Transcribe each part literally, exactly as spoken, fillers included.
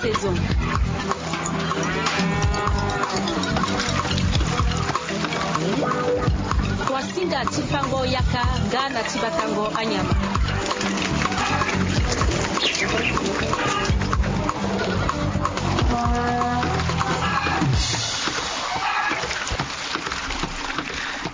Saison. Kuasinga ti fango yaka nga na ti batango anyama.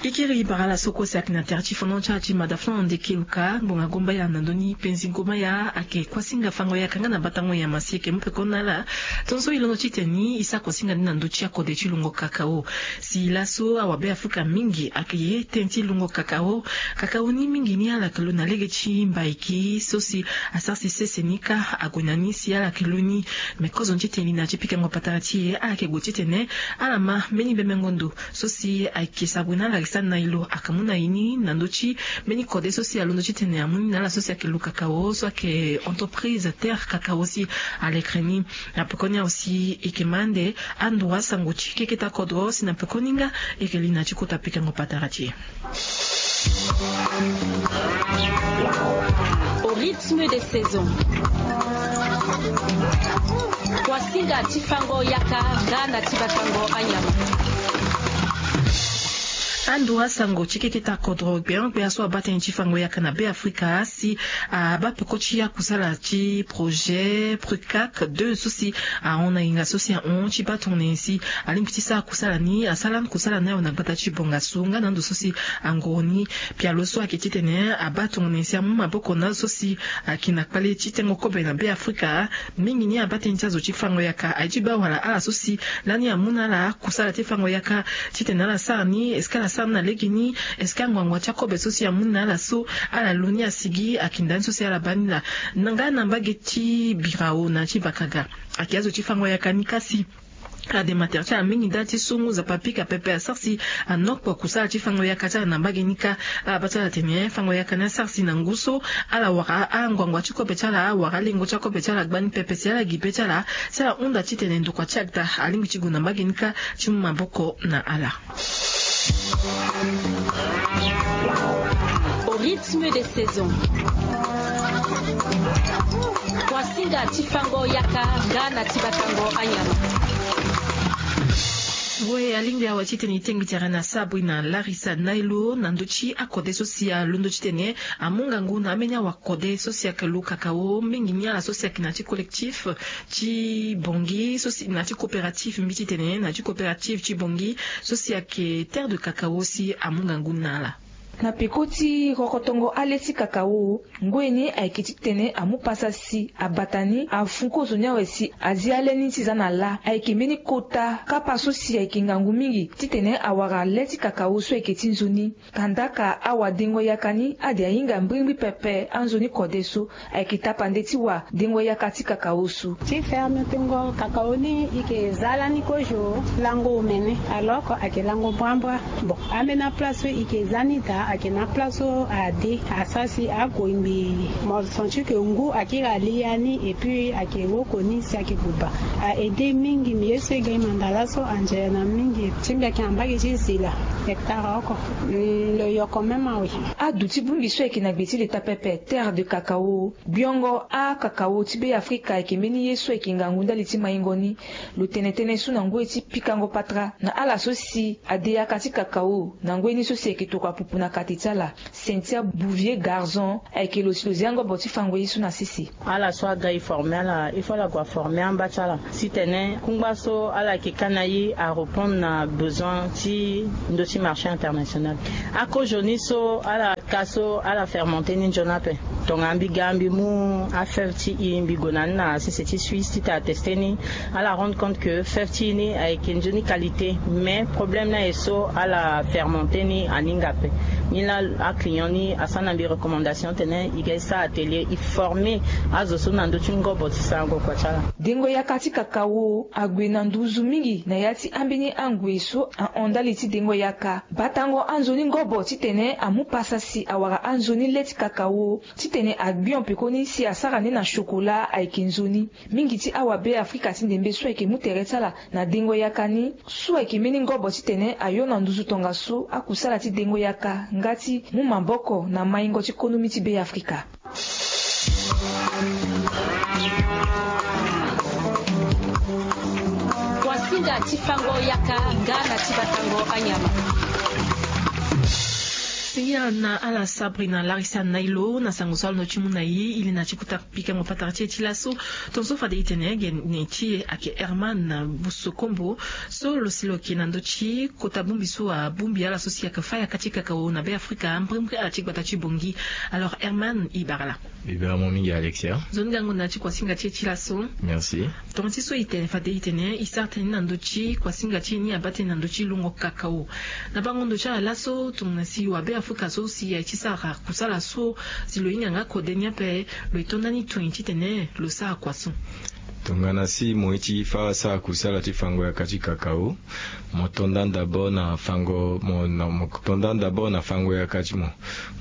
Ikiri bara ala so kue si ayeke na tere ti fondon ti ala ti mada fana na ndeke luka ngbonga gomba ya na ndoni penzi ngoma ya ayeke kuasinga fango yaka nga na batango nyama si eke mu peko na ala. Tonso e londo titene e sara kuasinga ni na ndö ti akode ti lungo kakao. Si laso awabe afrika mingi ayeke ye tënë ti lungo kakao. Kakao ni mingi ni ala yeke lo na lege ti mbaiki so si asara si sese ni kâ ague na ni si ala yeke lo ni. Me kozo ni titene li na ya ti pikango patara ti e ala yeke gue titene ala ma mbeni bemengo ndo so si ayeke sabwe na ala ayeke sara ni na e lo ayeke mu na e ni na ndö ti mbeni kode so si alondo titene amu ni na ala so si ayeke lo kakao so ayeke entreprise terre kakao si alekere ni. Na pekoni awe si e yeke ma ande ando asango ti keketa kodro si na pekoni nga e yeke li na ya ti kota pikango patara ti e. Au rythme des saisons. Kuasinga ti fango yaka nga na ti batango anyama. Ando asango ti keketa kodro gbeon gbea so abaa tënë ti fango yaka na be afrika si abaa peko ti akusala ti projet prucac deux so si ahon na nginga so si ahon ti baa tongana nyen si alingbi ti sara kusala ni asara lani kusala ni awe na gbata ti bongaso nga na ando so si angoro ni. Pialo so ayeke titene abaa tongana nyen si amu maboko na azo so si ayeke na kpale ti tengo kobe na be afrika. Mingi ni abaa tënë ti azo ti fango yaka aye ti baa wala ala so si lani amu na ala kusala ti fango yaka titene ala sara ni est-ce que ala sara ni na lege ni? Est-ce que anguangu ti akobe so si amu ni na ala so ala lo ni asigi ayeke nda ni so si ala baa ni laa? Nga na mbage ti birao na ya ti bakaga ayeke azo ti fango yaka ni kasi. Adema tere ti ala mingi ndali ti so ngu nzapa pika pepe asara si anokpo kusala ti fango yaka ti ala na mbage ni kâ. Ala baa ti ala tene fango yaka ni asara si na ngu so ala wara anguangu ti kobe ti ala wara alengo ti akobe ti ala gbani pepe si ala gi be ti ala si ala hunda titene ndokua ti agda alingbi ti gue na mbage ni kâ ti mu maboko na ala. Au rythme des saisons. Kuasinga ti fango yaka nga na ti batango anyama. Ngoi alingbi awe titene e tengbi tere na sabri na larisa nailo na ndö ti akode so si alondo titene amu ngangu na ambeni awakode so si ayeke lo kakao mingi ni ala so si ayeke na ti collectif ti bongi so si na ti coopérative mbi titene na ti coopérative ti bongi so si ayeke terre de kakao si amu ngangu na ala. Na peko ti rokotongo ale ti kakao ngoi ni ayeke titene amu pasa si abata ni afu kozo ni awe si azi ale ni ti za na lâ ayeke mbeni kota kapa so si ayeke ngangu mingi titene awara le ti kakao so ayeke ti nzoni. Kandaka awadengo yaka ni ade ahinga mbirimbiri pepe anzoni kode so. Ayeke tapande ti wa dengo yaka ti kakao so. Ti ferme tengo kakao ni e ke za lani kozo lango omene alors ayeke lango mbrambra. Bon, ambeni aplace so e ke za ni daa ayeke na aplace so ade asara si akoi mbi mo senti ke ngu akiri ali ya ni et puis ayeke woko ni si ayeke buba. A aide mingi mbi ye so e ga e manda laso anzere na mingi ti mbi ayeke na mbage ti zila hectare oko. Lo yoko même awe. Adu ti bongbi so ayeke na gbe ti leta pepe terre de kakao. Gbiongo akakao ti be afrika ayeke mbeni ye so ayeke ngangu ndali ti maingo ni. Lo tene tënë so na ngoi ti pikango patara na ala so si ade yaka ti kakao na ngoi ni so si ayeke tokua pupu na kate ti ala. Cynthia bouvier garzon ayeke lo si lo zia ngobo ti fango ye so na sese. Ala so aga e forme ala il faut ala gue aforme amba ti ala. Titene kungba so ala yeke ka na ye arépondre na besoin ti ndö ti marché international. Akozo ni so ala ka so ala fermente ni nzoni ape. Tongana mbi ga mbi mu afeuve ti e mbi gue na ni na sese ti suisse ti tene ateste ni. Ala rendre compte ke feuve ti e ni ayeke nzoni qualité. Mais problème ni aye so ala fermente ni aninga ape. Ni laa aclient ni asara na mbi recommandation tene e ga e sara atelier e forme azo so na ndö ti ngobo ti sarango kua ti ala. Dengo yaka ti kakao ague na nduzu mingi na ya ti ambeni angui so ahon ndali ti dengo yaka. Batango anzoni ngobo titene amu pasa si awara anzoni le ti kakao titene agbion pekoni si asara ni na chokola ayeke nzoni. Mingi ti awabe afrika ti ndembe so ayeke mu tere ti ala na dengo yaka ni so ayeke mbeni ngobo titene ayo na nduzu tongaso akusala ti dengo yaka nga ti mu maboko na maingo ti konomi ti be afrika. Fango yaka nga na ti batango anyama. Singila na ala sabri na larisa na ilo na sango so alondo ti mu na ye ili na ti kuta pikango patara ti e ti laso. Tonso fade itene gene ti e ake herman busokombo so lo si lo ke na ndo ti kota bumbi so abumbi ala so si ake fa yaka ti kakao na be afrika mbrimbri ala ti gbata ti bongi. Alors herman ibara la. Ibara mo mingi alexia. Zo ni gango na ti kuasinga ti e ti laso. Merci. Tonga ti so itene fade itene isara tene ni na ndo ti kuasinga ti e ni abaa tene na ndo ti longo kakao. Na bango ndo ti ala laso tongana si wabe afrika so si aye ti sara kusala so si lo hinga nga kode ni ape lo etonda ni tongana titene lo sara kua so. Tongana si mo ye ti fa sara kusala ti fango yaka ti kakao, mo tonda d'abord na fango mo na mo tonda d'abord na fango yaka ti mo.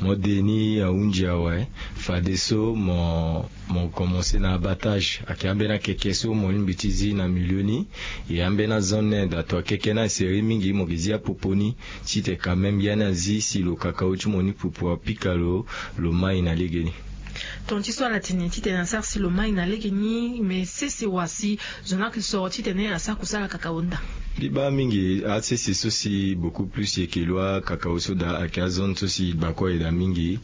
Mo de ni ahunzi awe. Fadeso mo mo commence na abattage ake ambeni akeke so mo lingbi ti zi na milieu ni. E ambeni azon ni daa to akeke ni aseri mingi mo ke zi apopo ni. Tite quand même ya ni azi si lo kakao ti mo ni pupu apika lo lo mai na legeni. Tonga ti so ala tene titene asara si lo mai na legeni me sese wa si zo ni ayeke soro titene asara kusala kakao nda. Mbi baa mingi asese so si beaucoup plus e yeke lo akakao so daa ayeke azone so si gbakua e daa mingi.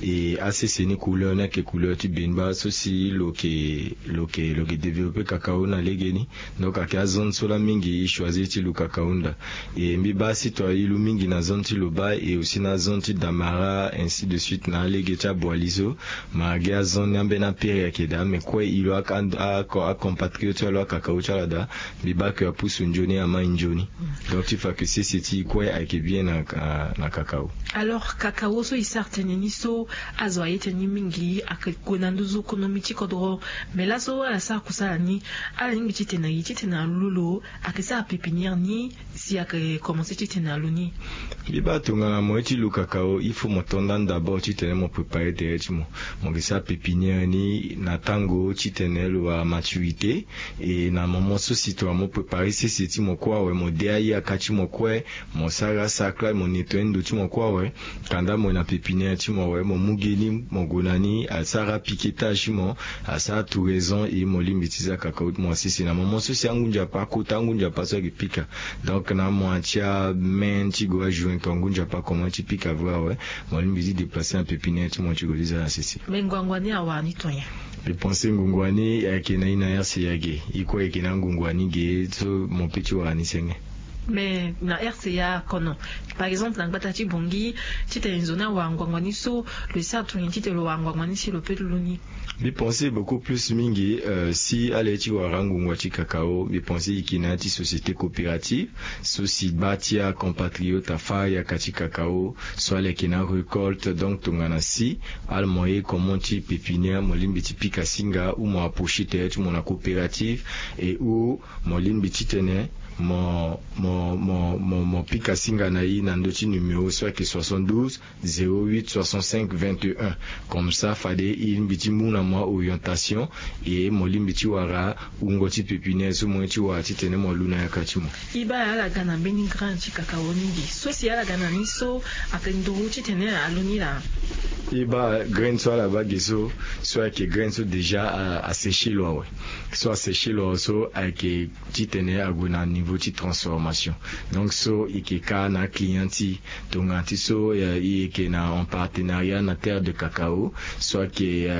E asese ni couleur ni ayeke couleur ti benba so si lo yeke lo yeke lo yeke développe kakao na legeni. Donc ayeke azone so laa mingi e choisir ti lo kakao nda. E mbi baa si to aye lo mingi na zone ti loba e aussi na zone ti damara ainsi de suite na alege ti aboili so. Ma gi azone ni ambeni apere ayeke daa me kue e lo acompatriote ti ala lo akakao ti ala daa. Mbi baa ke apusu nzoni amai nzoni. Donc ti fa ke sese ti e kue ayeke bien na kakao. Alors kakao so e sara tene ni so azo aye tene ni mingi ayeke gue na nduzu konomi ti kodro. Me laso ala sara kusala ni ala lingbi titene aye titene alu lo ayeke sara pépinière ni si ayeke commence titene alu ni. Mbi baa tongana mo ye ti lu kakao il faut mo to nda d'abord titene mo prépare tere ti mo. Mo yeke sara pépinière ni na tango titene lo wara maturité. E na moment so si tongana mo prépare sese ti mo kue awe mo de ayaka ti mo kue. Mo sara asara kla mo nettoyer ndo ti mo kue awe. Kanda mo na pépinière ti mo awe mo mu ge ni mo gue na ni asara piquetage ti mo. Asara touraison e mo lingbi ti za kakao ti mo asese na moment so si angu nzapa akota angu nzapa so ayeke pika. Donc na amoin ti amain ti gue ajoin to angu nzapa akoman ti pika vrai awe. Mo lingbi ti déplacer na pépinière ti mo ti gue ti za na sese. Me ngongo ni awara ni to nyen? Mbi pense ngongo ni ayeke na e na rca ge. E kue ayeke na ngongo ni ge so mo pe ti wara ni senge. Mais na rca kono par exemple na gbata ti bongi titene nzoni awara ngongo ni so lo esa tongana titene lo wara ngongo ni si lo pe lulu ni. Mbi pense beaucoup plus mingi si ala ye ti wara ngongo ti kakao mbi pense e yeke na ya ti société coopérative so si baa ti acompatriote afa yaka ti kakao. So ala yeke na arécolte donc tongana si ala mo ye comment ti pépinière mo lingbi ti pika singa ou mo approcher tere ti mo na coopérative. Et ou mo lingbi titene mo mo mo mo mo pika singa na e na ndö ti numéro so ayeke soixante douze zéro huit soixante cinq vingt et un. Comme ça fade e lingbi ti mu na mo aorientation. E mo lingbi ti wara wungo ti pépinière so mo ye ti wara titene mo lu na yaka ti mo. E baa ala ga na mbeni graine ti kakao mingi so si ala ga na ni so ayeke nduru titene alu ni laa. E baa graine so ala baa ge so so ayeke graine so déjà aseche lo awe. So aseche lo awe so ayeke titene ague na niveau ti transformation. Donc so e yeke ka na aclient ti e tongana ti so e yeke na en partenariat na terre de kakao so ayeke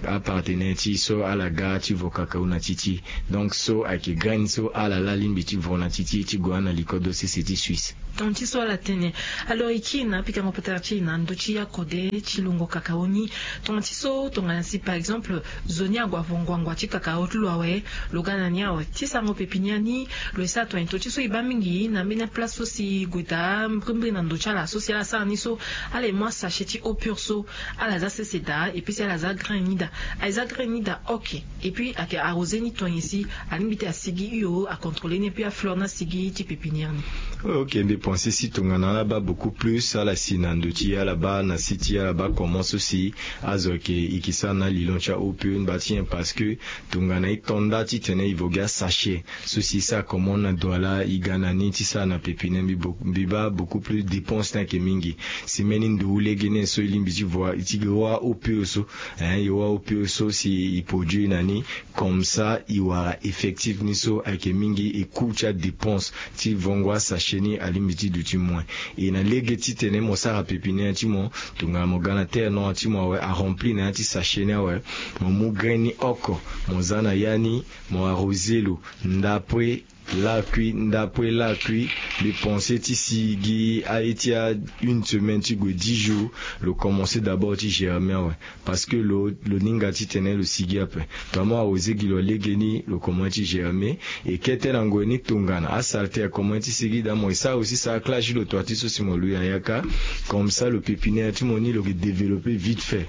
apartenaire ti e so ala ga ti vo kakao na ti ti e. Donc so ayeke graine so ala laa lingbi ti vo na ti ti e ti gue na likodo sese ti suisse. Tongana ti so ala tene. Alors e kiri na apikango patara ti e na ndö ti akode ti lungo kakao ni. Tongana ti so tongana si par exemple zo ni ague avo nguangua ti kakao ti lo awe. Lo ga na ni awe ti sarango pépinière ni. Lo esara tongana e to ti so e baa mingi na mbeni aplace so si e gue daa mbrimbri na ndo ti ala so si ala sara ni so ala ye mu asache ti eau pure so ala za sese daa epui si ala za graine ni daa. Aye za graine ni daa ok. Epui ayeke arrosé ni tonye si alingbi ti asigi hio acontrôlé ni epui afleur ni asigi ti pépinière ni. Ok mbi pense si tongana ala baa beaucoup plus ala si na ndo ti e ala baa na si ti e ala baa comment so si azo ayeke e ke sara na lilon ti aeau pure ni baa ti nyen parce que tongana e to nda titene e vo gi asache so si e sara comment na Wala e ga na ni ti sara na pepinière mbi baa beaucoup plus dépense ni ayeke mingi. Si mbeni nduru lege ni so e lingbi ti voie ti gi wâ opio so, hein e wâ opio so si e produit na ni. Comme ça e wara effectif ni so ayeke mingi e coût ti adépense ti vongo asachet ni alingbi ti duti moins. E na lege titene mo sara pepinière ti mo, tongana mo ga na terre noire ti mo awe, arempli na ya ti sachet ni awe, mo mu grain ni oko, mo za na ya ni, mo arrosé lo, ndapo e lakui ndapo e lakui. Mbi pense ti si gi aye ti a une semaine ti gue dix jours, lo commence d'abord ti germer awe. Parce que lo lo ninga titene lo sigi ape. Tongana mo arrosé gi lo lege ni lo commence ti germer. E kete na ngoi ni tongana asalte akomanse ti sigi daa mo e sara aussi sarclage ti lo toi ti so si mo lui na yaka. Comme ça lo pépinière ti mo ni lo ke développer vite fait.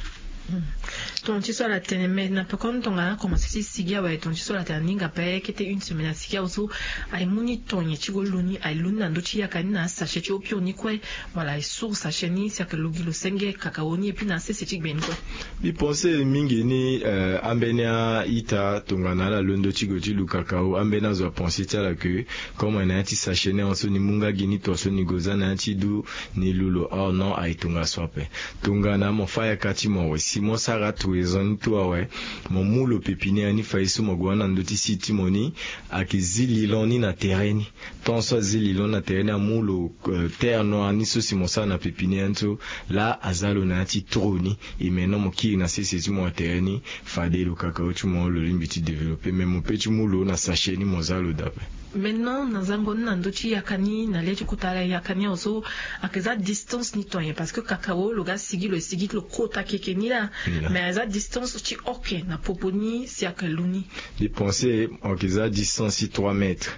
Tonga ti so ala tene mais na pekoni tongana akomanse ti sigi awe tonga ti so ala tene aninga ape kete une semaine asigi awe so, aye mu ni tonye ti gue lu ni aye lu ni na ndö ti yaka ni na asachet ti opio ni kue. Wala aye suru sachet ni si ayeke lu gi lo senge kakao ni epui na asese ti gbe ni kue. Mbi pense mingi ni ambeni a-ita tongana ala londo ti gue ti lu kakao ambeni azo apense ti ala ke, comme aye na ya ti sachet ni ahon so ni mu nga gi ni tonga so ni gue za na ya ti du, ni lu lo or non aye tongaso ape. Tongana mo fâ yaka ti mo awe si mo sara atuezon ni tout awe, mo mu lo pépinière ni fade so mo gue wani na ndö ti site ti mo ni, ayeke zi lilon ni na tere ni. Tant so azi lilon ni na tere ni amu lo terre noire ni so si mo sara na pépinière ni so, laa aza lo na ya ti tro ni. E maintenant mo kiri na sese ti mo na tere ni, fade lo kakao ti mo lo lingbi ti développer mais mo pe ti mu lo na sachet ni mo za lo daa ape. Maintenant na zango ni na ndö ti yaka ni na le ti kota yaka ni awe so, ayeke za distance ni tonye parce que kakao lo ga sigi lo e sigi ti lo kota keke ni laa. Mais aza distance ti oke na popo ni si ayeke lu ni. Mbi pense mo yeke za distance ti trois mètres.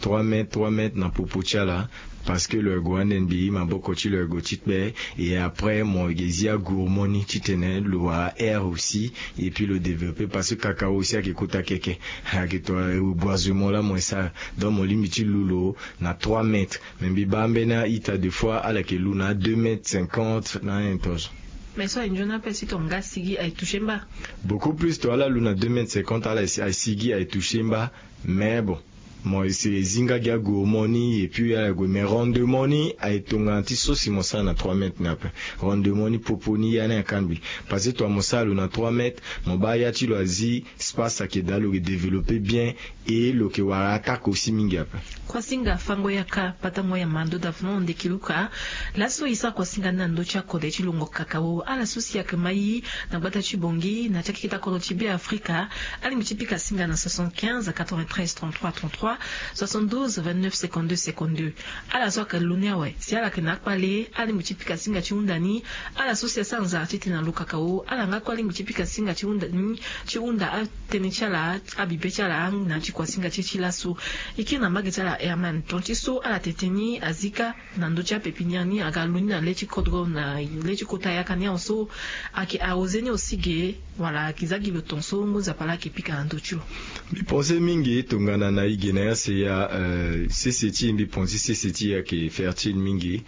Trois mètres trois mètres na popo ti ala. Parce que lo yeke gue ande mbi maboko ti lo yeke gue ti kpe. Et après mo yeke zi agourmand ni titene lo wara air aussi. Et puis lo développer parce que kakao aussi ayeke kota keke. Ayeke to reboisement laa mo e sara. Donc mo lingbi ti lu lo na trois mètres. Mais mbi baa ambeni a-ita de fois ala yeke lu na deux mètres cinquante na un poche. Mais so aye nzoni ape si tonga asigi aye toucher mba. Beaucoup plus to ala lu na deux mètres cinquante ala asigi aye toucher mba. Mais bon, mo ese zi nga gi agourmand ni et puis ala gue mais rendement ni aye tongana ti so si mo sara na trois mètres ni ape. Rendement ni popo ni ya ni aka mbi. Parce que tongana mo sara lo na trois mètres, mo baa ya ti lo azi, space ayeke daa lo yeke développer bien. Et lo yeke wara attaque aussi mingi ape. Kuasinga fango yaka patango ya mando davon ndeki luka. Laso e sara kuasinga ni na ndö ti akode ti longo kakao ala so si ayeke mai na gbata ti bongi na ti akeketa kodro ti beafrika. Alingbi ti pika singa na soixante-quinze quatre-vingt-treize trente-trois trente-trois, soixante-douze vingt-neuf cinquante-deux cinquante-deux. Ala so ayeke lu ni awe si ala yeke na akpale alingbi ti pika singa ti hunda ni. Ala so si asara nzara titene alu kakao ala nga kue alingbi ti pika singa ti hunda ni, ti hunda atënë ti ala, abibe ti ala na ya ti kuasinga ti e ti laso. E kiri na mbage ti ala herman tonga ti so ala tete ni azi kâ na ndö ti apépinière ni aga lu ni na le ti kodro na le ti kota yaka ni awe so. Ayeke arrosé ni aussi ge. Wala ayeke za gi lo ton so ngu nzapa laa ayeke pika na ndö ti lo. Mbi pense mingi tongana na e ge na ya seya. Sese ti e mbi pense sese ti e ayeke fertile mingi.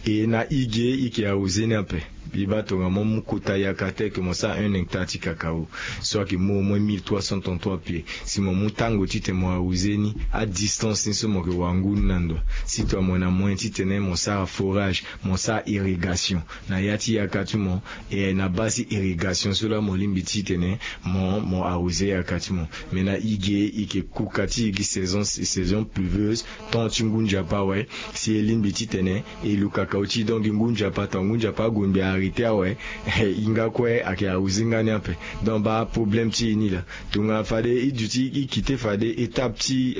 E na e ge e yeke arrosé ni ape. Mbi baa tongana mo mu kota yaka tel ke mo sara un hectare ti kakao, so ayeke mu au moins mille trois cents trente-trois pieds. Si mo mu tango titene mo arrosé ni, adistance ni so mo yeke wara ngu ni na ndo. Si tongana mo yeke na moyen titene mo sara forage, mo sara irrigation na ya ti yaka ti mo. E na base ti irrigation so laa mo lingbi titene mo mo arrosé yaka ti mo. Mais na e ge e yeke kuka ti e gi saison saison pluveuse. Temps ti ngu nzapa awe. Si e lingbi titene e lu kakao ti e donc gi ngu nzapa tongana ngu nzapa ague mbi arrêté awe. E hinga kue ayeke arrosé nga ni ape. Donc baa problème ti e ni laa. Tongana fade e duti e kite fade étape ti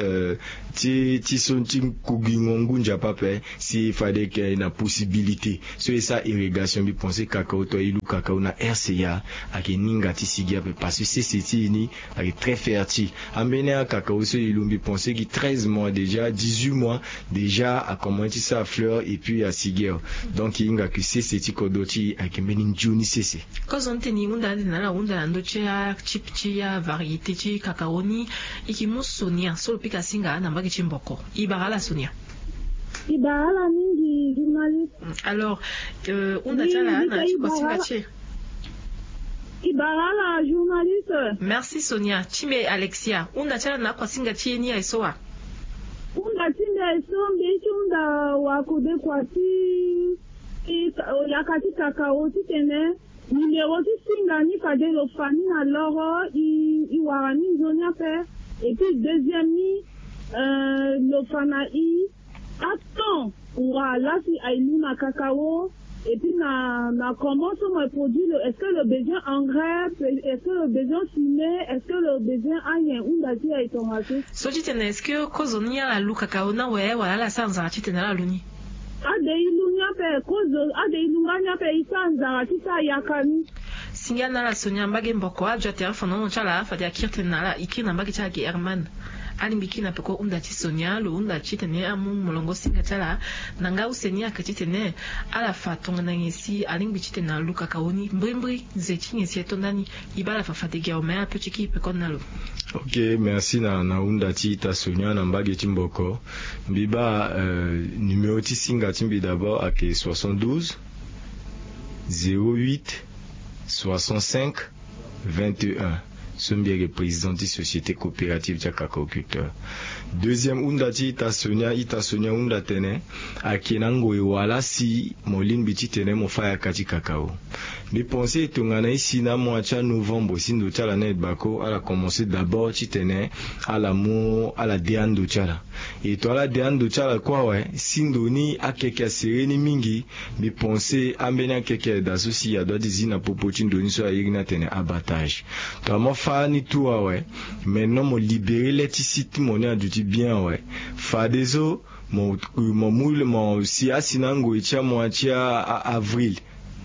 ti ti so ti kugingo ngu nzapa ape. Si fade e yeke na possibilité so e sara irrigation mbi pense kakao to e lu kakao na rca. Ayeke ninga ti sigi ape parce que sese ti e ni ayeke très fertile. Ambeni akakao so e lu mbi pense gi treize mois déjà dix-huit mois déjà akomanse ti sara fleur et puis asigi awe. Donc e hinga ke sese ti kodro ti e ayeke mbeni nzoni sese. Kozoni tene e hunda ande na ala hunda na ndö ti atype ti avariété ti kakao ni. E ke mu sonia so lo pika singa na mbage ti mbo. Ko e bara ala sonia. E bara ala mingi journaliste. Alors hunda ti ala na ti kuasinga ti e. E bara ala journaliste. Merci sonia ti me alexia hunda ti ala na akuasinga ti e ni aye so wa? Hunda ti nde so mbi ye ti hunda wakode kua ti ti yaka ti kakao titene nimero ti singa ni fade lo fa ni na loro i wara ni nzoni ape. Et puis deuxième ni, lo fa na i aton wa lasi aye lu na kakao. Et puis na na comment so mo produit lo, est-ce que lo besoin engrais, est-ce que lo besoin fumier, est-ce que lo besoin anyen? Hunda ti aye tongaso. So titene est-ce que kozo ni ala lu kakao ni awe wala ala sara nzara titene ala lu ni? Ade i lu ni ape kozo, ade i lu nga ni ape i sara nzara ti sara yaka ni. Singa na ala sonia mbage mboko ajo atere fondement ti ala fade akiri tene na ala i kiri na mbage ti ala gi herman. Alingbi kiri na peko hunda ti sonia lo hunda titene amu molongo singa ti ala. Na nga use ni ayeke titene ala fa tongana nyen si alingbi titene alu kakao ni mbrimbri nze ti nyen si ato ndani. I baa ala fa fade gi awe me ape ti kiri peko na lo. Ok, merci na na hunda ti ita sonia na mbage ti mboko. Mbi baa numero ti singa ti mbi d'abord ayeke soixante-douze, zéro huit, soixante-cinq, vingt et un. So mbi yeke président ti société coopérative ti akakoculteur. Deuxième hunda ti ita sonia ita sonia hunda tene, ayeke na ngoi wala si mo lingbi titene mo fa yaka ti kakao. Mbi pense tongana isi na amois ti anovembre si ndo ti ala na e bako ala commence d'abord titene ala mu ala de ando ti ala. E to ala de ando ti ala kue awe si ndo ni akeke asere ni mingi. Mbi pense ambeni akeke aye daa so si adoit ti zi na popo ti ndo ni so airi ni atene abattage. To amu afa ni tout awe. Maintenant mo libere le ti si ti mo ni aduti bien awe. Fadeso mo mo mu mo si asi na angoi ti amois ti a avril.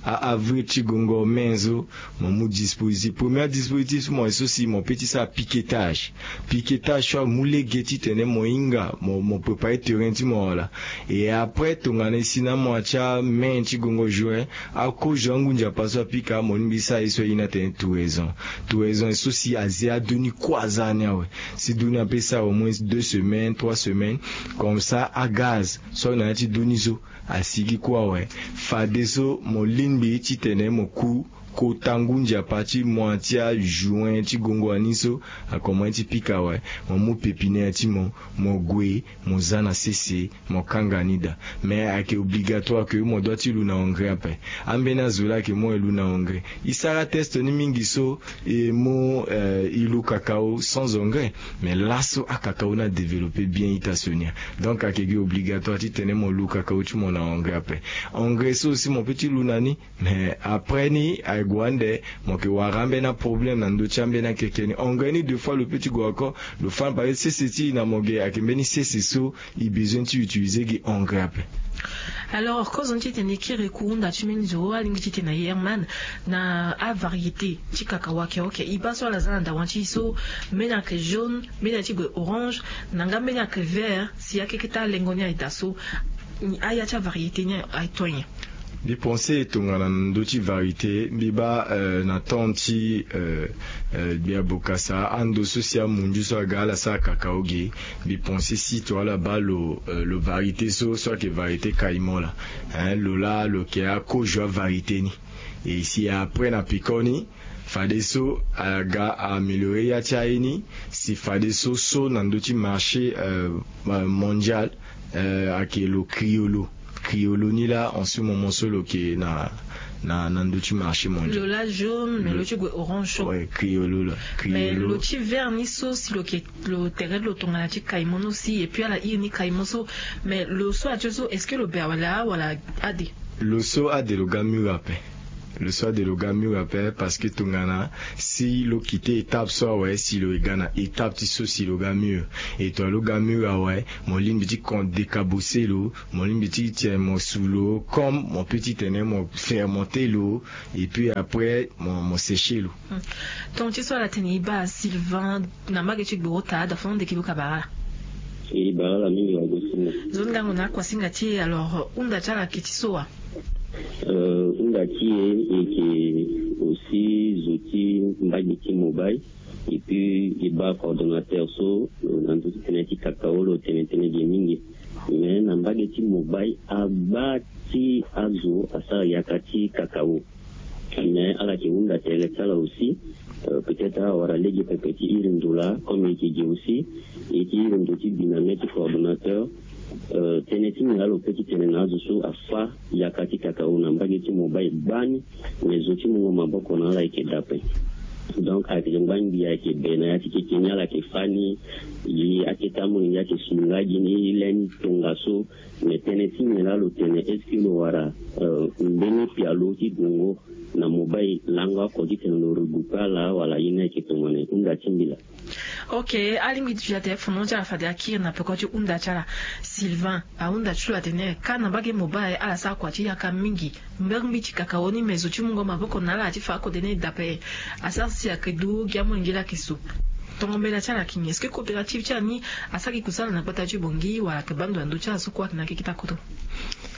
A avril ti gongo mai so mo mu dispositif premier dispositif so mo ye so si mo pe ti sara piquetage. Piquetage so amu lege titene mo hinga mo mo prépare terrain ti mo wala. E après tongana e si na amois ti amai ti gongo juin akozo angu nzapa so apika mo lingbi sara ye so aye ni atene touraison. Touraison ye so si aze ado ni kue aza ni awe. Si ado ni ape sara au moins deux semaines trois semaines. Comme ça agaz so na ya ti ado ni so asigi kue awe. Fadeso mo lingbi titene mo ku kota ngu nzapa ti mois ti ajuin ti gongo wani so. Akomanse ti pika awe. Mo mu pépinière ti mo mo gue mo za na sese. Mo kanga ni daa. Mais ayeke obligatoire ke mo doit ti lu na engrais ape. Ambeni azo laa ayeke mu e lu na engrais. E sara teste ni mingi so e mu e lu kakao sans engrais. Mais laso akakao ni adéveloppe bien ita sonia. Donc ayeke gi obligatoire titene mo lu kakao ti mo na engrais ape. Engrais so aussi mo pe ti lu na ni. Mais après ni aye gue ande mo yeke wara ambeni aproblème na ndö ti ambeni akeke ni engrais ni deux fois lo pe ti gue encore. Lo fa na pari sese ti e na mo ge ayeke mbeni sese so e besoin ti utiliser gi engrais ape. Alors kozo ni titene e kiri ku hunda ti mbeni zo alingbi titene aye herman na avariété ti kakao ayeke oke e baa so ala za na dawa ti e so mbeni ayeke jaune mbeni aye ti gue orange na nga mbeni ayeke vert si akeke ti alengo ni aye daa so. Aya ti avariété ni aye to nyen? Mbi pense tongana na ndö ti variété mbi baa na temps ti gbia bokasa ando so si amundu so aga ala sara kakao ge. Mbi pense si to ala baa lo lo variété so so ayeke variété caïman laa. Lo laa lo yeke akozo avariété ni. E si après na piko ni fadeso aga améliore ya ti aye ni. Si fadeso so na ndö ti marché mondial ayeke lo criollo. Criollo ni laa en ce moment so lo yeke na na na ndö ti marché mondial. Lo laa jaune mais lo ti gue orange so. Criollo laa. Mais lo ti vert ni so si lo yeke lo tere ti lo tongana ti caïman ni aussi et puis ala iri ni caïman so. Mais lo so atie so est-ce que lo be awala wala ade? Lo so ade lo ga mur ape. Lo so ade lo ga mur ape parce que tongana si lo kite étape so awe si lo ye ga na étape ti so si lo ga mur. E to alo ga mur awe mo lingbi ti kon décabossé lo. Mo lingbi ti tene mo su lo comme mo pe ti tene mo fermenté lo. Et puis après mo mo séché lo. Tonga ti so ala tene e baa sylvain na mbage ti gbo ota ada fo na ndeke lo kabara ala. E bara ala mingi wagosinga. Zo ni ngango na akuasinga ti e alors hunda ti ala ayeke ti so wa? Hunda ti e e yeke aussi zo ti mbage ti mobile. Et puis e baa coordonnateur so na ndö ti tënë ti kakao lo tene tënë ge mingi. Mais na mbage ti mobile agba ti azo asara yaka ti kakao. Mais ala yeke hunda tere ti ala aussi. Peut-être awara Lege pepe ti iri ndo laa comme e yeke gi aussi, e yeke iri ndo ti bi na mê ti coordonnateur. Tënë ti nyen laa lo peut ti tene na azo so afâ yaka ti kakao na mbage ti mobile gbani? Me zo ti mungo maboko na ala ayeke dape. Donc ayeke zo ngba ngbii, ayeke be na ya ti keke ni ala yeke fâ ni. Ye akete amolenge ayeke sunga gi ni lê ni tongaso. Me tënë ti nyen laa lo tene? Est-ce que lo wara mbeni pialo ti gongo na mobile lango oko ti tene lo regroupe ala wala ye ni ayeke tongana e hunda ti mbila? Ok. Alingbi ti fi atene fono ti ala fade akiri na peko ti hunda ti ala. Sylvain ahunda ti lo atene ka na mbage mobile ala sara kua ti yaka mingi. Mbeni mbi ti kakao ni me zo ti mungo maboko na ala ti fa akode ni dape. Asara si ayeke du gi amolenge laa ayeke so. Tongo mbela ti ala ayeke nyen? Est-ce que coopérative ti ala ni asara gi kusala na gbata ti bongi wala ayeke baa ndo na ndö ti ala so kue ayeke na keke ti akoto?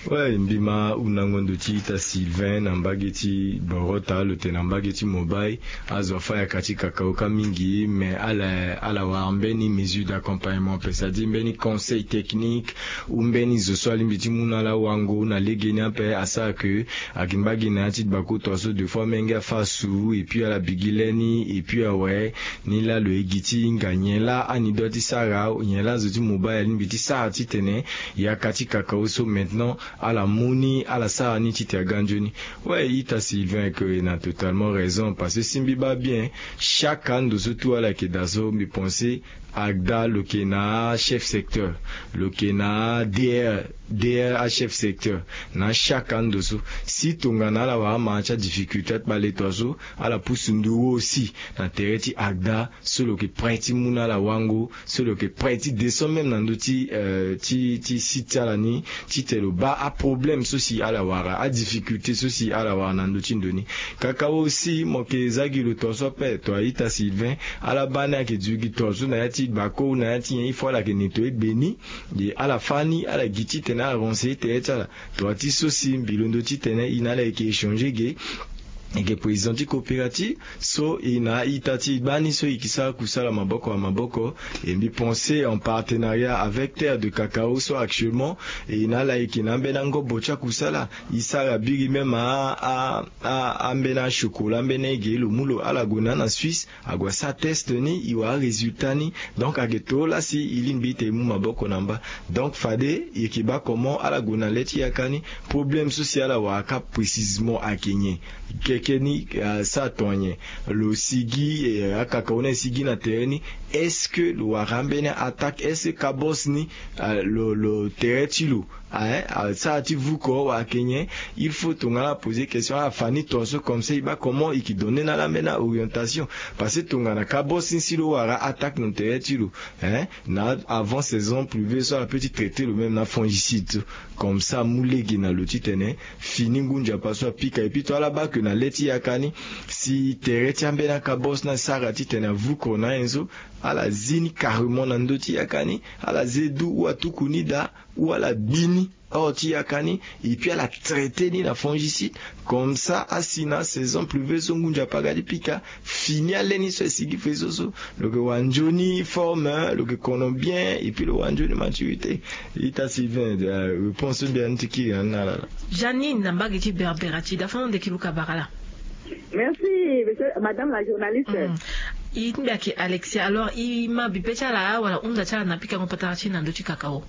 Ouais, mbi ma hundango ndo ti ita Sylvain na mbage ti boro taa lo tene na mbage ti mobile. Azo afâ yaka ti kakao ka mingi, mais ala ala wara mbeni mesure d'accompagnement ape, c'est-à-dire mbeni conseil technique ou mbeni zo so alingbi ti mu na ala wango na legeni ape asara ke ayeke mbage na ya ti gbako tongaso deux fois menge afâ asu et puis ala bi gi lê ni et puis awe ni laa lo ye gi ti hinga nyen laa ani doit ti sara, nyen laa zo ti mobile alingbi ti sara ti tene yaka ti kakao so maintenant ala mu ni ala sara ni ti te aga nzoni. Ouais, ita Sylvain ayeke na totalement raison parce que si mbi baa bien, chaque ando so tout ala yeke daa so mbi pense agda lo yeke na achef secteur, lo yeke na adr, dr achef secteur. Na chaque ando so si tongana ala wara ama ti adifficulté ti baleto aso, ala pusu ndugu aussi na tere ti agda so lo yeke prêt ti mu na ala wango, so lo yeke prêt ti descend même na ndö ti ti ti site ti ala ni, ti tene lo baa aproblème so si ala wara, adifficulté so si ala wara na ndö ti ndo ni. Kaka aussi mo yeke za gi lo tongaso ape, to aita Sylvain, ala baa ni ayeke zu gi tongaso na ya ti gbako na ya ti nyen il faut ala yeke nettoyer gbe ni. Ye ala fâ ni ala gi ti tene ala renseiller tere ti ala. To ati so si mbi londo ti tene e na ala yeke échanger ge, e yeke président ti coopérative so e na aita ti e gbani so e yeke sara kusala maboko na maboko. E mbi pense en partenariat avec terre de cacao so actuellement e na ala yeke na ambeni angobo ti akusala. E sara biri même a a a ambeni achokola ambeni ege lo mu lo ala gue na ala na Suisse, ague asara test ni e wara arésultat ni. Donc ayeke too laa si e lingbi ti e mu maboko na mba. Donc fade e yeke baa comment ala gue na le ti yaka ni, problème so si ala wara ka précisement ayeke nyen? Keke ni asara tonga nyen? Lo sigi akaka hona e sigi na tere ni. Est-ce que lo wara ambeni attaque? Est-ce que kabos ni lo lo tere ti lo aye asara ti vuko wala ayeke nyen? Il faut tongana ala poser question ala fa ni tongaso comme ça e baa comment e yeke donner na ala ambeni aorientation. Parce que tongana kabos ni si lo wara attaque na tere ti lo, hein, na avant saison pluvieuses so ala peut ti traiter lo même na fongicide so. Comme ça amu lege na lo ti tene fini ngu nzapa so apika. Et puis to ala baa ke na le ti yaka ni, si tere ti ambeni akabos ni asara ti tene avuko na ayen so, ala zi ni carrément na ndö ti yaka ni, ala zi du ou atuku ni daa ou ala bi ni hors ti yaka ni, et puis ala traiter ni na fongicide. Comme ça asi na saison pluvieuses so ngu nzapa aga ti pika, fini ale ni so e sigi faisceau so, lo yeke wara nzoni forme, lo yeke kono bien et puis lo wara nzoni maturité. Ita Sylvain, réponse so mbi ya ni ti kiri na ni na ala laa. Janine na mbage ti berbera ti da fano ndeki luka bara laa. Merci monsieur madame la journaliste. E ti mbi ayeke Alexia. Alors e ma bipe ti ala wala hunda ti ala na pikango patara ti e na ndö ti kakao?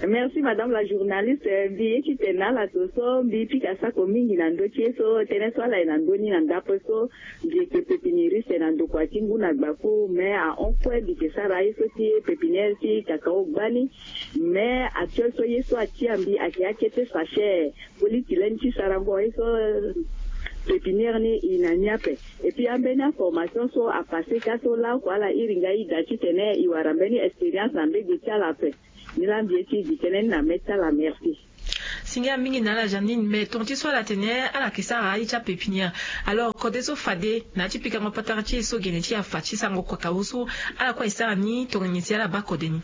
Merci madame la journaliste. Mbi ye ti tene na ala so so mbi pika sako mingi na ndö ti ye so tënë so ala ye na ndö ni na ndape so. Mbi yeke pépiniériste na ndokua ti ngu na gbako mais ahon kue mbi yeke sara aye so ti pépinière ti kakao gbani. Mais actuel so ye so atia mbi ayeke akete sachet. Poli ti lani ti sarango ye so pépinière ni e na ni ape. Et puis ambeni aformation so apase ka so laoko ala iri nga e da titene e wara mbeni expérience na mbege ti ala ape. Ni laa mbi ye ti e gi tënë ni na mê ti ala. Merci. Singia mingi na ala Janine. Mais tonga ti so ala tene ala yeke sara aye ti apépinière. Alors kode so fade na ya ti pikango patara ti e so gene ti e afa ti sarango kuakao so, ala kue aye sara ni tongana nyen si ala baa kode ni?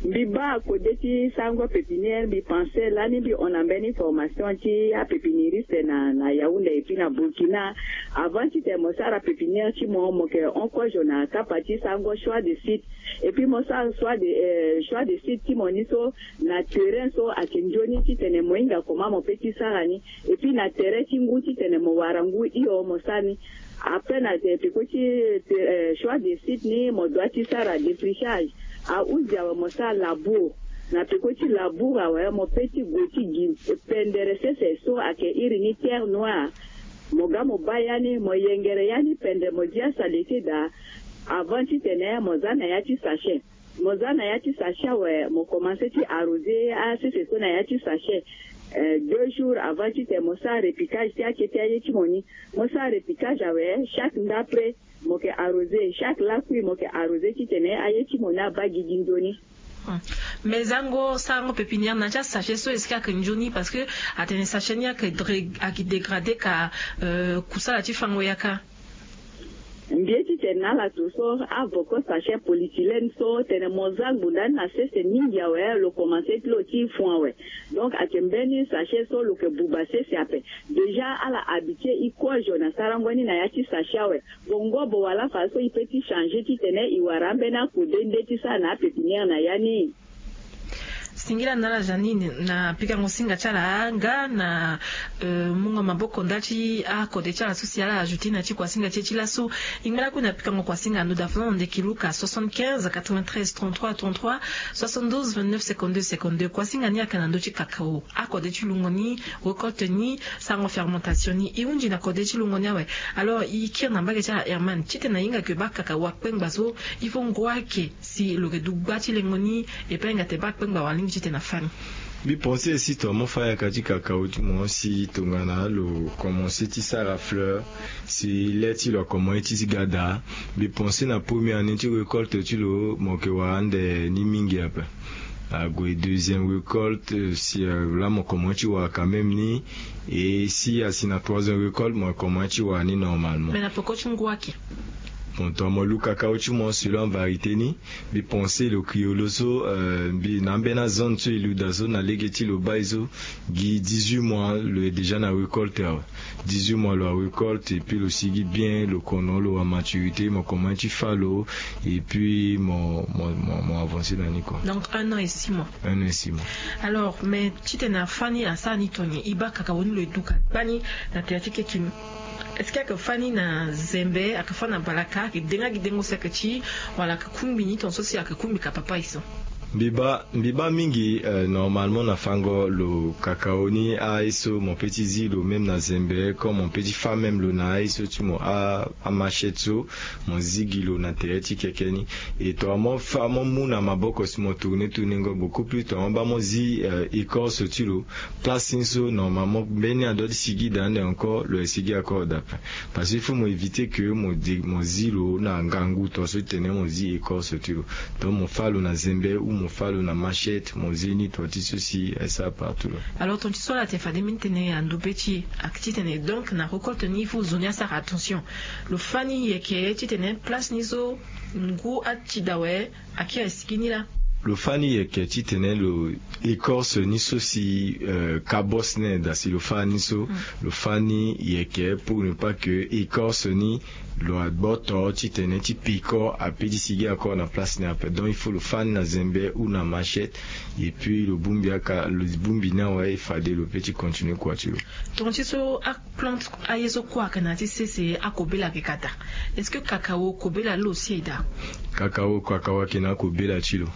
Mbi baa kode ti sarango pépinière, mbi pense lani mbi hon na mbeni formation ti apépiniriste na na yaounde epui na burkina. Avant titene mo sara pépinière ti mo mo yeke hon kozo na kapa ti sarango choix de site. Epui mo sara choix de choix de site ti mo ni so na terrain so ayeke nzoni titene mo hinga comment mo pe ti sara ni. Epui na terrain ti ngu titene mo wara ngu hio mo sara ni. Ape na peko ti choix de site ni mo dua ti sara défrichage. Ahuzi awe mo sara labour. Na peko ti labour awe mo pe ti gue ti gi pendere sese so ayeke iri ni terre noire. Mo ga mo baa ya ni mo yengere ya ni pende mo dia salete daa. Avant titene mo za na ya ti sachet. Mo za na ya ti sachet awe mo komanse ti arroser asese so na ya ti sachet. Deux jours avant titene mo sara repiquage ti akete aye ti mo ni. Mo sara repiquage awe chaque ndapre mo yeke arroser chaque lakui mo yeke arroser titene aye ti mo ni abaa gigi nzoni. Mais zango sarango pépinière na ti asachet so est-ce que ayeke nzoni parce que atene sachet ni ayeke dégrader ka kusala ti fango yaka. Mbi ye titene na ala to so avoko sachet polythylène so tene mo za ngbunda ni na sese mingi awe lo komanse ti lo ti fon awe. Donc ayeke mbeni sachet so lo yeke buba sese ape. Déjà ala habitué e kozo na sarango ni na ya ti sachet awe. Bongo bo wala fa so e pe ti changer titene e wara ambeni akode nde ti sara na apépinière na ya ni. Singila na ala Janine na pikango singa ti ala nga na mungo maboko nda ti akode ti ala so si ala ajouté na ti kuasinga ti e ti laso. E ngba lakui na pikango kuasinga ando daa fana na ndeki luka soixante-quinze quatre-vingt-treize trente-trois trente-trois, soixante-douze vingt-neuf cinquante-deux cinquante-deux. Kuasinga ni ayeke na ndö ti kakao, akode ti lungo ni, récolte ni, sarango fermentation ni. E hunzi na kode ti lungo ni awe. Alors e kiri na mbage ti ala Herman titene ahinga ke baa kakao akpengba so il faut ngu ayeke si lo yeke du gba ti lengo ni. E pe ahinga tene baa akpengba wala lingbi titene afâ ni. Mbi pense si tongana mo fâ yaka ti kakao ti mo si tongana lo komanse ti sara fleur si le ti lo akomanse ti ga daa. Mbi pense na première année ti récolte ti lo mo yeke wara ande ni mingi ape. Ague deuxième récolte si laa mo komanse ti wara quand même ni. Et si asi na troisième récolte mo komanse ti wara ni normalement. Mais na peko ti ngu ayeke. Bon tongana mo lu kakao ti mo selon avariété ni. Mbi pense lo criollo so mbi na ambeni azone so e lu daa so na lege ti lo baa e so gi dix-huit mois lo est déjà na récolte awe. Dix-huit mois lo arécolte epui lo sigi bien lo kono lo amaturité mo komanse ti fâ lo. Epui mo mo mo avancer na ni kua. Donc un an et six mois. Un an et six mois. Alors mais titene afâ ni asara ni tongana nyen? E baa kakao ni lo e du ka kpani na tere ti keke ni. Est-ce que ayeke fâ ni na zembe ayeke fâ na balaka ayeke denga gi dengo si ayeke ti wala ayeke kungbi ni tonga so si ayeke kungbi ka papa e so? Mbi baa mbi baa mingi. Normalement na fango lo kakao ni aye so mo pe ti zi lo même na zembe comme mo pe ti fâ même lo na aye so ti mo amachette so mo zi gi lo na tere ti keke ni. Et tongana mo fâ mo mu na maboko si mo tourner tourner ngo beaucoup plus tongana mo baa mo zi écorce ti lo. Place ni so normalement mbeni adua ti sigi daa ande encore lo ye sigi encore daa. Parce que il faut mo éviter ke mo zi lo na ngangu to so ti tene mo zi écorce ti lo. Donc mo fâ lo na zembe ou mo fâ lo na machette mo zi ni to ti so si aye sara partout lo. Alors ton ti so ala tene fade mbeni tene ando be ti e ayeke titene donc na récolte ni il faut zo ni asara attention. Lo fâ ni yeke titene place ni so ngu ati daa awe. Aki aye sigi ni laa. Lo fâ ni yeke titene lo écorce ni so si kabos ni aye daa si lo fâ ni so. Lo fâ ni yeke pour ne pas ke écorce ni lo agboto titene ti peko ape ti sigi akor na place ni ape donc il faut lo fâ ni na zembe ou na machette. Epui lo bongbi aka lo bongbi ni awe fade lo pe ti continuer kua ti lo. Tonga ti so aplante aye so kue ayeke na ya ti sese akobela ayeke ka daa. Est-ce que kakao kobela lo si aye daa? Kakao kakao ayeke na akobela ti lo.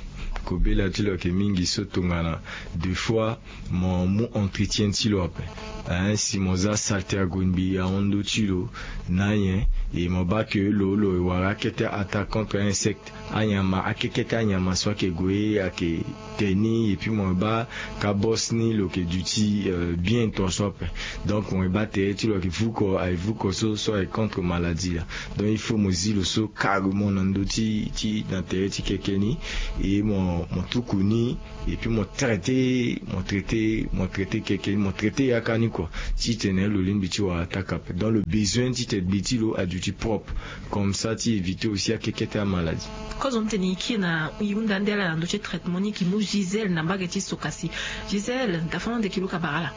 Kobela ti lo ayeke mingi so tongana deux fois mo mu entretien ti lo ape. Hein si mo za salté ague ngbii ahon ndö ti lo na nyen? E mo baa ke lo lo e wara akete attaque contre insecte anyama akekete anyama so ayeke gue ayeke te ni epui mo baa kabos ni lo yeke duti bien tongaso ape. Donc mo baa tere ti lo ayeke vuko aye vuko so so aye contre maladie laa. Donc il faut mo zi lo so carrement na ndö ti ti na tere ti keke ni. E mo mo tuku ni, et puis mo traité mo traité mo traité keke ni, mo traité yaka ni kua. Titene lo lingbi ti wara taka ape, donc lo besoin titene gbe ti lo aduti propre, comme ça ti éviter aussi akekete amaladie. Kozo ni tene e kiri na e hunda nde ala na ndö ti traitement ni e ke mu Gisèle na mbage ti Sokasi. Gisèle, dafa ande e ke luka bara ala.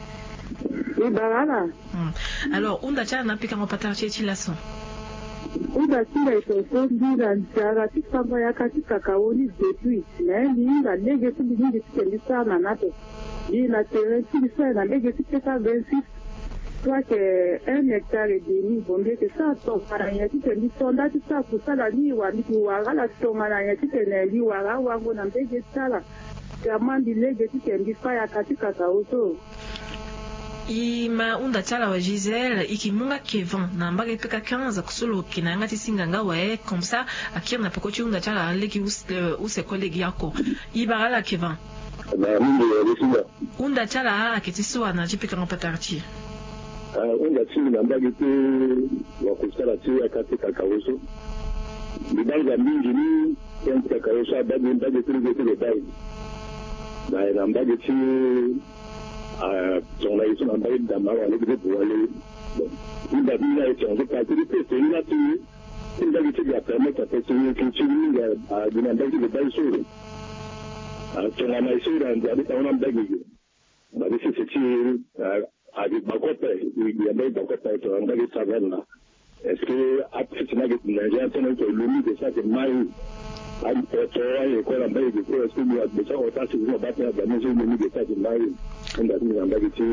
E bara ala. Alors hunda ti ala na apikango patara ti e ti laso. Hunda ti nda e tonso mbi na nzara ti fango yaka ti kakao ni depuis. Mais mbi hinga lege ti mbi mingi ti ke mbi sara na ni ape. Mbi na terrain ti mbi so aye na lege ti peka vingt-six, soit que un hectare et demi. Bon, mbi yeke sara tongana nyen ti ke mbi to nda ti sara kusala ni, wa mbi ke wara ala tongana nyen ti tene mbi wara awango na mbege ti ala. Vraiment mbi lege ti ke mbi fa yaka ti kakao so. E ma hunda ti ala awe Gisèle, e ke mu nga Kevin na mbage peka quinze, so lo ke na yanga ti singa nga awe, comme ça akiri na peko ti hunda ti ala lege use, use kue lege oko. E bara ala Kevin. Na mingi ya le singa. Hunda ti ala ayeke ti so wa na ti pikango patara ti e? Ah, hunda ti mbi na mbage ti wakusala ti yaka ti kakao so. Mbi baa nga mingi ni tënë ti kakao so abaa gi mbage ti lege ti lo baa e. Na mbage ti, ah, tongana e so na mbage ti dama wala lege ti buwa le. Bon, hunda ti mbi na e tongana so parti ti pese ni laa ti Ti mbage ti ga permettre ape ti ti mingi agi na mbage ti lo baa e so. Tongana e so na ndia ti tango na mbage ge. Mbage sese ti agi gbako ape. Agi na mbage gbako ape tongana mbage ti savane na. Est-ce que ape ti na ge ti na ndia tene to lomi de sa ti mai. Apoto aye ko na mbage ge ko, est-ce que lo agbe sa ota si lo baa tene aza ni so lomi de sa ti mai. Hunda ti mbi na mbage ti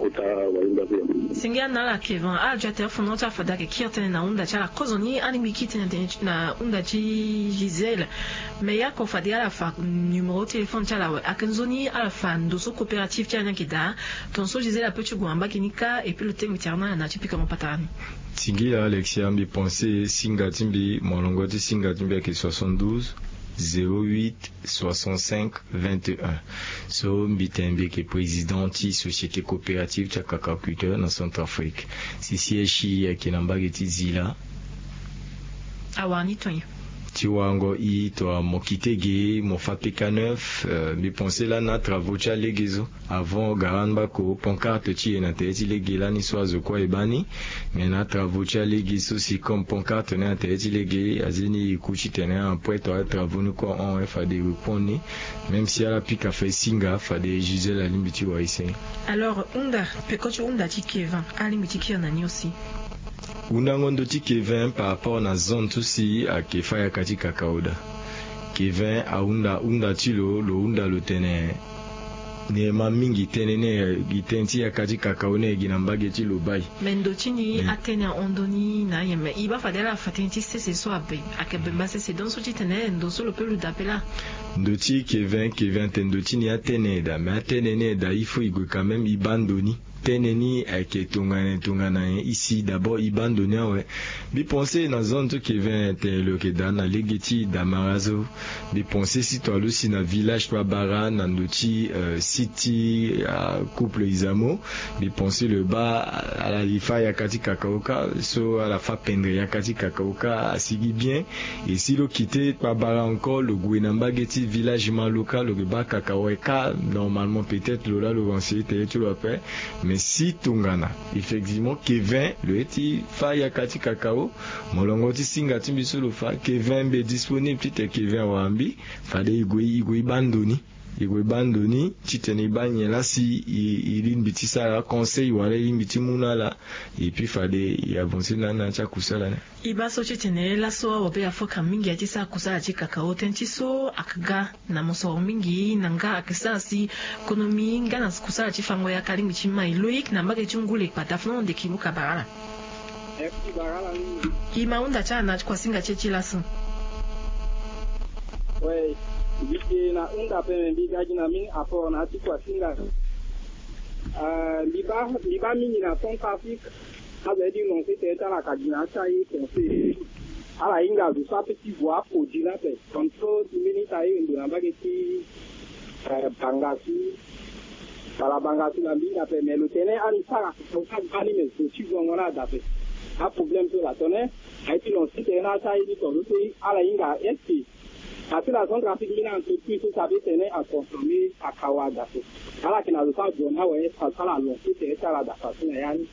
kota wahinda so. Singia na ala Kevin, ala duti atene fondement ti ala fade ayeke kiri tënë na hunda ti ala. Kozoni alingbi kiri tënë na hunda ti Gisèle. Mais yako fade ala fa numéro téléphone ti ala awe. Ayeke nzoni ala fa ndo so coopérative ti ala ni ayeke daa. Tongaso Gisèle ape ti gue na mbage ni kâ, et puis lo tengbi ti ala na ala na ti pikango patara ni. Singila Alexia, mbi pense singa ti mbi, molongo ti singa ti mbi ayeke soixante-douze, zéro huit, soixante-cinq, vingt et un. So mbi tene mbi yeke président ti société coopérative ti akacaculteur na Centrafrique. Si siège ti e ayeke na mbage ti Zila. Awara ni tonye. Ti warango e tongana mo kite ge mo fa P K neuf, euh, mbi pense lani na travaux ti alege so. Avant gara ni bako pancarte ti e na tere ti lege lani so azo kue e baa ni. Mais na travaux ti alege so si comme pancarte ni na tere ti lege, azeni e ku titene après to travaux ni kue ahon, e fade e répondre ni. Même si ala pika fa e singa, fade Gisèle alingbi ti wara e senge. Alors hunda, peko ti hunda ti Kevin alingbi ti kiri na ni aussi. Hundango ndo ti Kevin par rapport na zone so si ayeke fa yaka ti kakao daa. Kevin ahunda hunda ti lo, lo hunda lo tene ni ma mingi tënë ni, gi tënë ti yaka ti kakao ni gi na mbage ti lo baa e. Mais ndo ti ni atene ahon ndo ni na ayen, mais e baa fade ala fa tënë ti sese so abe, ayeke bemba sese, donc so titene ndo so lo pe lo daa pe laa. Ndo ti Kevin, Kevin atene ndo ti ni atene daa, mais atene ni daa il faut e gue quand même e baa ndo ni. Tënë ni ayeke tongana tongana nyen? E si d'abord e baa ndo ni awe. Mbi pense na zone so Kevin tene lo yeke daa na lege ti Damara so. Mbi pense si to alusi na village ti babara na ndo ti, euh, site ti, euh, couple Izamo. Mbi pense lo baa ala li fa yaka ti kakao kâ, so ala fa pendre yaka ti kakao kâ asigi bien. Et si lo kite babara encore, lo gue na mbage ti village Maloka, lo yeke baa kakao awe kâ. Normalement peut-être lo laa lo renseigner tene ti lo ape. Mais si tongana effectivement Kevin lo ye ti fa yaka ti kakao, molongo ti singa ti mbi so lo fa, Kevin mbi est disponible titene Kevin awara mbi. Fade e gue, e gue e baa ndo ni. E gue e baa ndo ni titene e baa nyen laa si e, e lingbi ti sara conseil wala e lingbi ti mu na ala. Et puis fade e avancer na ala na ya ti akusala ni. E baa so titene laso awabe afoka mingi ya ti sara kusala ti kakao, tënë ti so ayeke ga na mosoro mingi na nga ayeke sara si konomi nga na kusala ti fango yaka alingbi ti mai. Loïc na mbage ti Ngule Kpata, fana ande e ke luka bara ala. Merci bara ala mingi. E ma hunda ti ala na kuasinga ti e ti laso. Ouais, mbi yeke na hunda ape, me mbi ga gi na mbeni apport na ya ti kuasinga. Euh, mbi baa, mbi baa mingi na Centrafrique. Azo ye ti lancer tene ti ala ka gi na ya ti aye conseil. Ala hinga zo so ape ti gue aproduit ni ape. Comme so ti mbeni ti aye ndo na mbage ti, eh, Bangassou. Bala Bangassou na mbi hinga ape, mais lo tene ani sara so ka gbani, mais zo ti zongo ni ada ape. Aproblème so la tene aye ti lancer tene na ya ti aye ni tongaso si ala hinga est-ce que Asi na centre afrique mbeni entreprise so sabi tene aconsomme akawa da so. Ala yeke na zo so azo ni awe asara alongo ti tene ti ala da façon na ya ni.